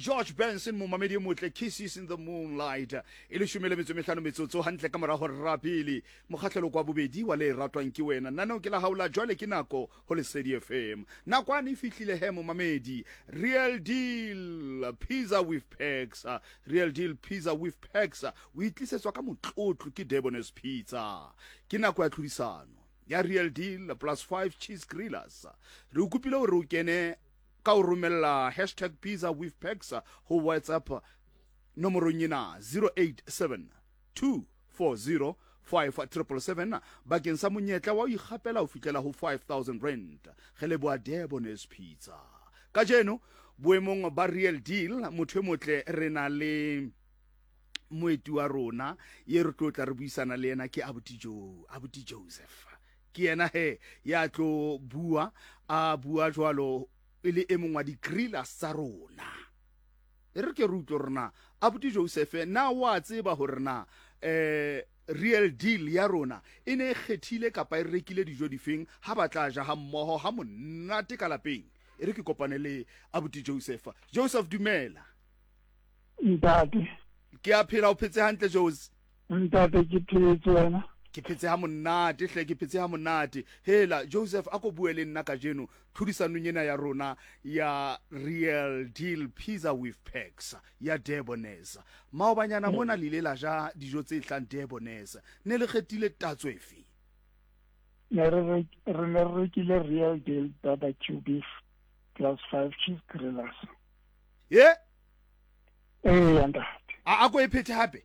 George Benson, momamedi e motle, Kisses in the Moonlight. E leshome le metso e mehlano metsotso hantle ka morago rapele. Mokgahlelo kwa bobedi wa le ratwang ke wena. Naneo ke la hao la jwale ke nako ho Lesedi FM. Nakwane e fihlile he momamedi. Real Deal Pizza with Packs. Real Deal Pizza with Packs. O itlisetswa ka motlotlo ke Debonair's Pizza. Ke nako ya tlhodisano ya Real Deal plus 5 cheese grillers. Re o kopile hore o kene ka o romella hashtag pizza with packs ho WhatsApp nomorong ena 087 240 5777 bakeng sa monyetla wa ho ikgapela ho fihlela ho 5000 rand. Re leboha Debonair's Pizza. Kajeno boemong ba Real Deal motho e motle re na le moeti wa rona ye re tlo tla re buisana le yena ke abuti Joe, abuti Joseph. Ke yena he ya tlo bua a bua jwalo e le e mong wa di-grillers tsa rona. E re ke re utlwe hore na abuti Joseph na wa tseba hore na eh real deal ya rona e ne e kgethile kapa e rekile dijo difeng ha ba tla ja ha mmoho ha monate ka lapeng. E re ke kopane le abuti Joseph. Joseph dumela. Ntate. Ke a phela, o phetse hantle Jose? Ntate ke phetse wena. Ke phetse ha monate hle, ke phetse ha monate. Hela Joseph a ko bue le nna kajeno tlhodisanong ena ya rona ya Real Deal Pizza with Packs ya Debonair's. Maobanyana mona le ile la ja dijo tse tlang Debonair's. Ne le kgethile tatso efe? Ne re re ne re rekile Real Deal barbecue beef plus 5 cheese grillers. Ye? Ee, ntate. A ko e phethe hape.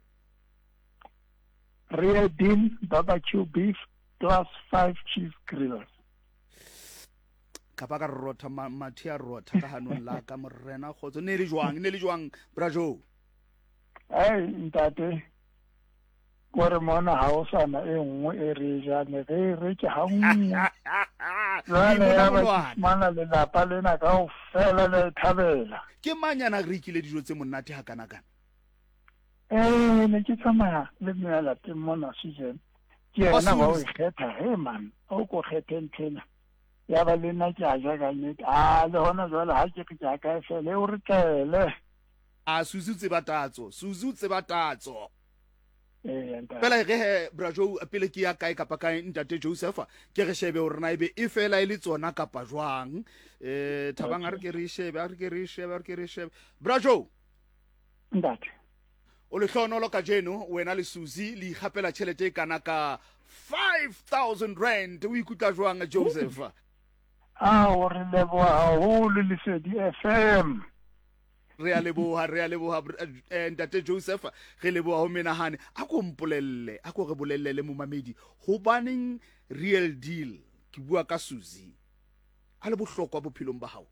Real Deal barbecue beef plus 5 cheese grillers. Ka ba ka rotha mathe a rotha ka hanong la ka morena kgotso. Ne le jwang? Ne le jwang bra Joe? Ai ntate, kore mona ha o sana e nngwe e re e jang re e reke ha nngwe. Jwale ya ba ke fumana lelapa lena kaofela le e thabela. Ke mang ya na rekile dijo tse monate hakana-kana? Ee, ne ke tsamaya le mme ya lapeng mona Susan. Ke yena wa o e kgetha, he man, o ko kgethe nthwena. Ya ba le nna ke a ja ka nnete. A le hona jwale ha ke re ke a kae fela, e o re tlele. A Suzy o tseba tatso, Suzy o tseba tatso. Fela e re he bra Joe pele ke ya kae kapa kae ntate Joseph ke re shebe hore na ebe e fela e le tsona kapa jwang. Eh Thabang a re ke re shebe, a re ke re shebe, a re ke re shebe. Bra Joe. Ntate. O lehlohonolo kajeno wena le Suzy le ikgapela tjhelete e kana ka 5000 rand. O ikutlwa jwang Joseph? A o re leboha haholo Lesedi FM. Re a leboha, re a leboha eh, ntate Joseph, re leboha ho menahane. A ko mpolelle, a ko re bolelle le momamedi hobaneng real deal ke bua ka Suzy a le bohlokwa bophelong ba hao.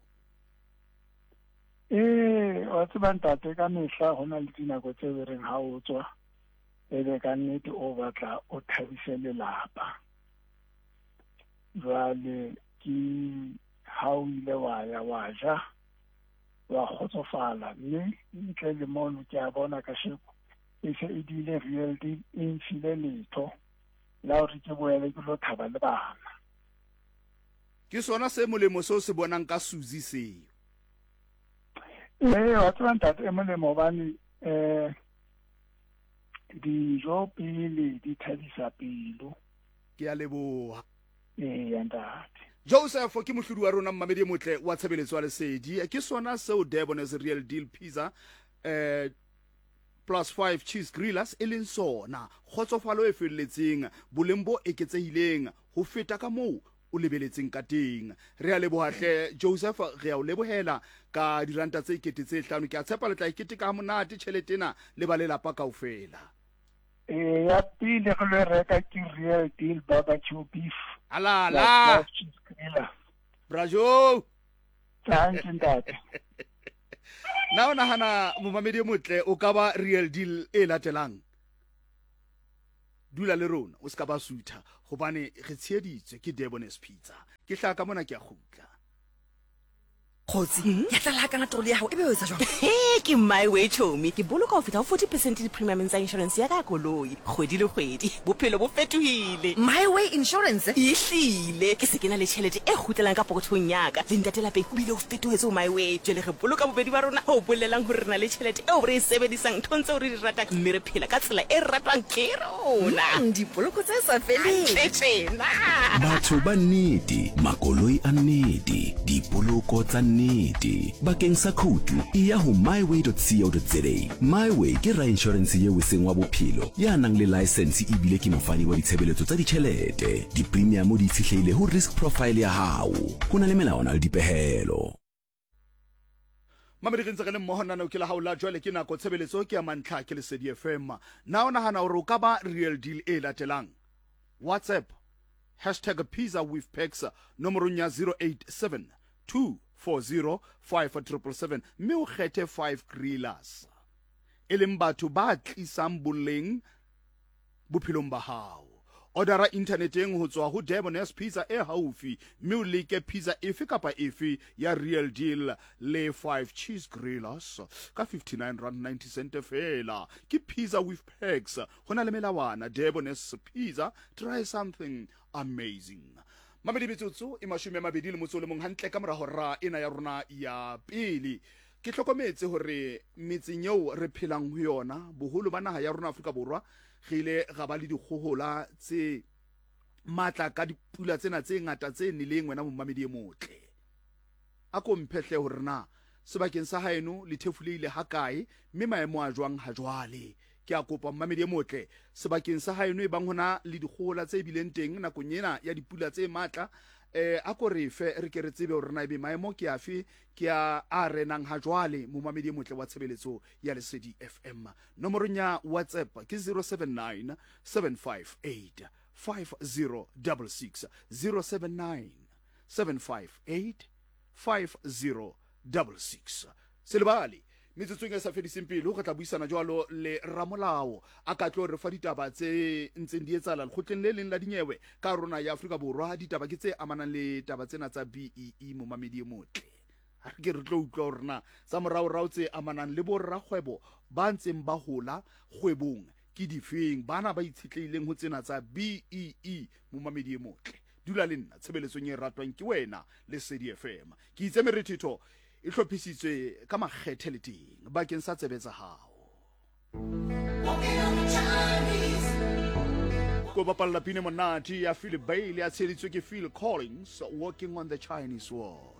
Ee, wa tseba ntate, ka mehla ho na le dinako tse be reng ha o tswa e be ka nnete o batla o thabise lelapa. Jwale ke ha o ile wa ya wa ja wa kgotsofala, mme ntle le mono ke a bona kasheko e se e dile real deal e mfile letho la hore ke boele ke lo thaba le bana. Ke sona se molemo seo se bonang ka Suzy seo. Ee, wa tseba ntate e molemo hobane um dijo pele di thabisa pelo. Ke a leboha. Ee, ntate. Joseph ke mohlodi wa rona mmamedi e motle wa tshebeletso ya Lesedi. Ke sona seo Debonair's Real Deal Pizza eh plus 5 cheese grillers e leng sona. Kgotsofalo e felletseng, boleng bo eketsehileng ho feta ka moo o lebeletseng ka teng. Re a leboha hle Joseph, re a o lebohela ka diranta tse 5000. Ke a tshepa le tla e keteka ha monate tjhelete ena le ba lelapa kaofela. Ee, ya pele re lo e reka ke Real Deal barbecue beef. Alala. Cheese griller. Bra Joe. Thank you ntate. Na o nahana momamedi e motle o ka ba Real Deal e latelang? Dula le rona o se ka ba sutha hobane re tsheheditswe ke Debonair's Pizza. Ke hlaka mona ke a kgutla. Kgotsi, ya tlala hakana troli ya gago e be o etsa jwang? He, ke my way chomi. Ke boloka ho feta ho 40 percent di-premiumeng tsa insurance ya ka ya koloi kgwedi le kgwedi. Bophelo bo fetohile. My way insurance? Ehlile, ke se ke na le tjhelete e kgutlelang ka pokothong ya ka. Le ntate lapeng o bile o fetohetse ho my way. Jwale re boloka bobedi ba rona, ho bolelang hore re na le tjhelete eo re e sebedisang nthong tseo re di ratang mme re phela ka tsela e ratwang ke rona. Dipoloko tse sa feleng. Hantle tjena. Batho ba nnete, makoloi a nnete, dipoloko tsa nnete. Bakeng sa khoutu, eya ho myway.co.za. MyWay ke rainšorense yeo e seng wa bophelo, ya nang le laesense ebile ke mofani wa ditshebeletso tsa ditšhelete. Dipremiamo di itshetlehile ho risk profile ya hao. Ho na le melawana le dipehelo. Mamedi re ntse re le mmoho naneo ke la hao la jwale ke nako tshebeletso ke ya mantlha ke Lesedi FM. Na o nahana hore o ka ba real deal e latelang? WhatsApp hashtag pizza with packs nomorong ya 087 240 5777 mme o kgethe 5 grillers e leng batho ba tlisang boleng bophelong ba hao. Odara inthaneteng ho tswa ho Debonair's Pizza e haufi mme o leke pizza efe kapa efe ya Real Deal le 5 Cheese Grillers ka R59.90 feela. Ke pizza with perks. Ho na le melawana. Debonair's Pizza, try something amazing. Mamedi metsotso e 21 hantle ka mora hora ena ya rona ya pele. Ke hlokometse hore metseng eo re phelang ho yona, boholo ba naha ya rona Afrika Borwa, re ile ra ba le dikgohola tse matla ka dipula tsena tse ngata tse neleng wena momamedi e motle. A ko mphe hle hore na sebakeng sa haeno le thefulehile hakae mme maemo a jwang ha jwale. Ke a kopa momamedi e motle, sebakeng sa haeno e bang hona le dikgohola tse bileng teng nakong ena ya dipula tse matla, eh, a ko re fe re ke re tsebe hore na ebe maemo ke afe ke a a renang ha jwale. Momamedi e motle wa tshebeletso ya Lesedi FM, nomorong ya WhatsApp ke 079 758 5066, 079 758 5066. Se lebale, metsotsong e sa fediseng pelo re tla buisana jwalo le ramolao a ka tlo re fa ditaba tse ntseng di etsahala lekgotleng le leng la dinyewe ka rona ya Afrika Borwa. Ditaba ke tse amanang le taba tsena tsa BEE. Momamedi e motle, ha re ke re tlo utlwa hore na tsa moraorao tse amanang le borrakgwebo ba ntseng ba hola kgwebong ke difeng, bana ba itshetlehileng ho tsena tsa BEE. Momamedi e motle, dula le nna tshebeletsong e ratwang ke wena, Lesedi FM. Ke itse merethetho e hlophisitswe ka makgethe le teng bakeng sa tsebe tsa hao. Ko bapalla pine monate ya Philip Bailey a tsheditswe ke Phil Collins, Walking on the Chinese Wall.